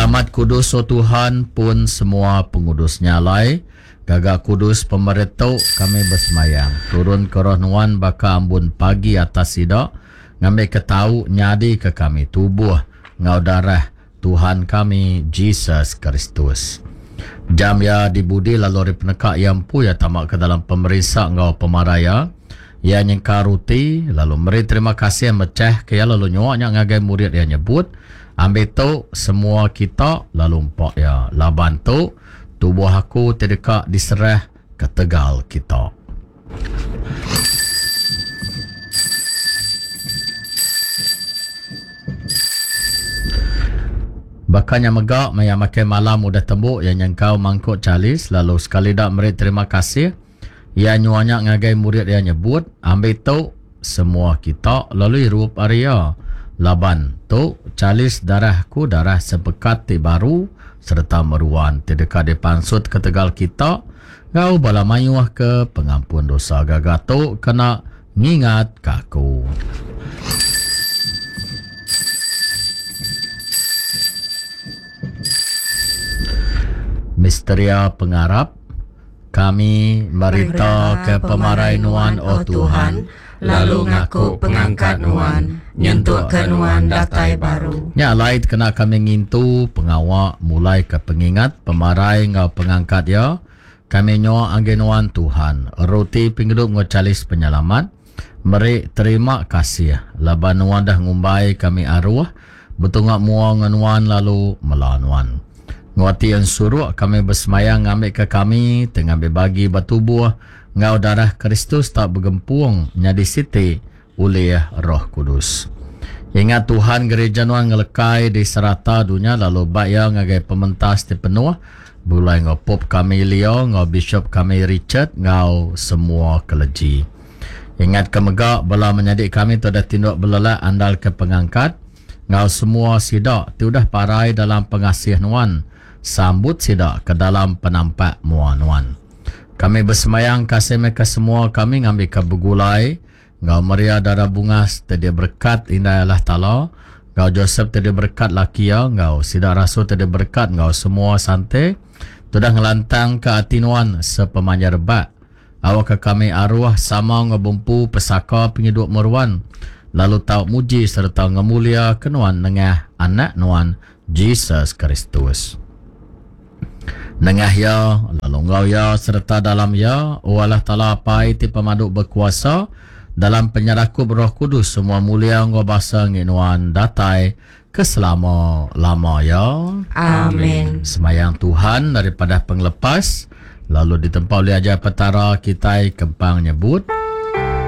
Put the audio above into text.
Kita amat kudus, O Tuhan, pun semua pengudus. Nya alai, gaga kudus pemeri tu, kami besemayang. Turunka Roh Nuan baka ambun pagi atas sida, ngambika tau nyadika kami tubuh enggau darah Tuhan kami, Jesus Kristus. Jam iya dibudi lalu ari peneka iya empu iya tama ke dalam pemerinsa enggau pemarai iya. Iya nyengkar ruti lalu meri terima kasih mechah ke iya lalu nyua nya ngagai murid iya nyebut, Ambi tu semua kita lalu empa iya, laban tu tubuh aku ti deka diserah ketegal kita. Baka nya mega, maya makai malam udah tembu, iya nyengkau mangkuk chalis lalu sekali da meri terima kasih. Iya nyua nya ngagai murid iya nyebut, Ambi tu, semua kita, lalu irup ari iya. Laban, tu chalis darah aku, darah sempekat ti baru sereta meruan ti deka dipansut ketegal kita enggau bala mayuh ke pengampun dosa. Gaga tu kena ngingatka aku. Misteria Pengarap, Kami meritaka pemarai Nuan, O Tuhan, lalu ngaku pengangkat Nuan, nyentukka Nuan datai baru. Nya alai dikena kami ngintu pengawa mulaika pengingat pemarai enggau pengangkat Iya, kami nyua agi Nuan, Tuhan, roti pengidup enggau chalis penyelamat, meri terima kasih laban Nuan dah ngumbai kami aruh betunga mua enggau Nuan lalu mela Nuan. Enggau ati ensuruk kami besemaya ngambika kami ti ngambi bagi ba tubuh enggau darah Kristus tau begempung nyadi siti ulih Roh Kudus. Ingat Tuhan gereja nuan ngelekai di serata dunya lalu ba iya ngagai pementas ti penuh begulai enggau Pope kami Leo enggau Bishop kami Richard enggau semua keleji. Ingatka mega bala menyadi kami ti udah tinduk belelak andalka pengangkat enggau semua sida ti udah parai dalam pengasih Nuan, sambut sida ke dalam penampak mua Nuan. Kami besembayang kasih meh ke semua kami ngambika begulai enggau Maria Dara Bungas ti diberekat Indai Allah Taala, enggau Josep ti diberekat laki iya, enggau sida rasul ti diberekat enggau semua sante ti udah ngelantangka ati Nuan sepemanjai rebak. Awakka kami aruh sama enggau bempu pesaka pengidup meruan, lalu tau muji sereta ngemuliaka Nuan nengah Anak Nuan, Jesus Kristus. Nengah Iya, lalu enggau Iya sereta dalam Iya, O Allah Taala Apai ti Pemadu Bekuasa, dalam penyerakup Roh Kudus semua mulia enggau basa enggi Nuan datai ke selama-lama iya. Amin. Semayang Tuhan ari padah pengelepas, lalu ditempa ulih ajar Petara kitai kempang nyebut.